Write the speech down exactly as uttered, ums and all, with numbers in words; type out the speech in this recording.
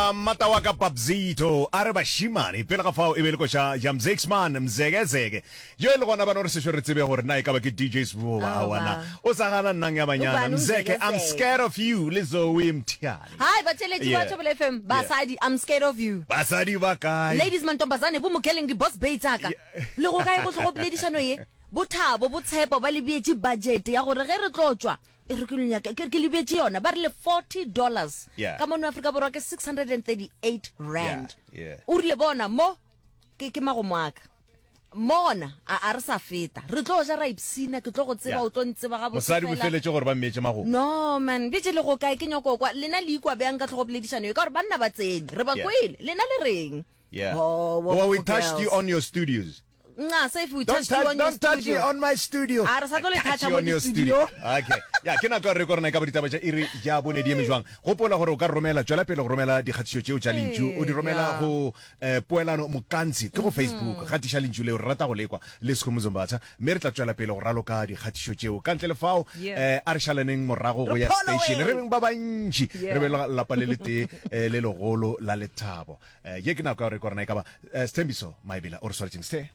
Ya mmata wa ka Papzito a re bašimane pele ga fao e be le koša ya Mzexman Mzekezeke yo e le gona bana gore sešo re tsebe gore na e ka ba ke D J Sbu goba Aowa. aowa na o sa gana nnang ya banyana Ubani Mzeke, I'm uMzekezeke? scared of you le Zoe Mthiane. Hi batheeletši ba Yeah. Thobela F M, basadi, I'm scared of you. Basadi ba kae? Ladies, mantombazane, bo mokeleng di boss bae tsaka. Le go kae go tlogo poledišano ye? Bothabo, botshepo ba le beetše budget ya gore ge re tlo tšwa e re ke le nyaka ke ke le beetše yona ba rile forty dollars. Yeah. Ka mono Afrika Borwa ke six hundred and thirty-eight rand. Yeah, yeah. O rile bona mo ke ke magomo a ka. Mona a a re sa feta. Re tlo ja ra ipsina, ke tlo go tseba Yeah. o tlo ntseba gabotse Mosadi o fela. feletše gore ba mmeetše magomo. No man, bitše le go kae ke nyoko kwa lena le ikwa bjang ka tlhogo poledišano ye ka gore banna ba tsene re ba Yeah. kwele lena le reng? Yeah. Oh, Well, we wo- touched you girls. on your studios. Nca, say if we Don't touched you touch, on your don't touch me studio. on my studio. A re sa tlo le I touch toucha you mo on your di-studio. Okay. Ya, ke nako ya re gore na e ka ba ditaba tša iri ya bone di eme jwang. Gopola gore o ka romela, tšwela pele go romela dikgatišo tšeo tša lentšu. O di romela Yeah. go eh, Poelano Mokantsi ke go Facebook. Gatiša lentšu leo re rata go lekwa le Sekhumbuzo Mbatha. Mme re tla tšwela pele go raloka dikgatišo tšeo. Ka ntle le fao, Yeah. eh, a re šalaneng morago go Re ya station. Re followeng. beng ba bantši. Yeah. Re be le lapa le letee eh, le legolo la lethabo. Eh, ye ke nako ya gore gore na e ka ba eh, Sthembiso Maebela o re swaretšeng. Sthe.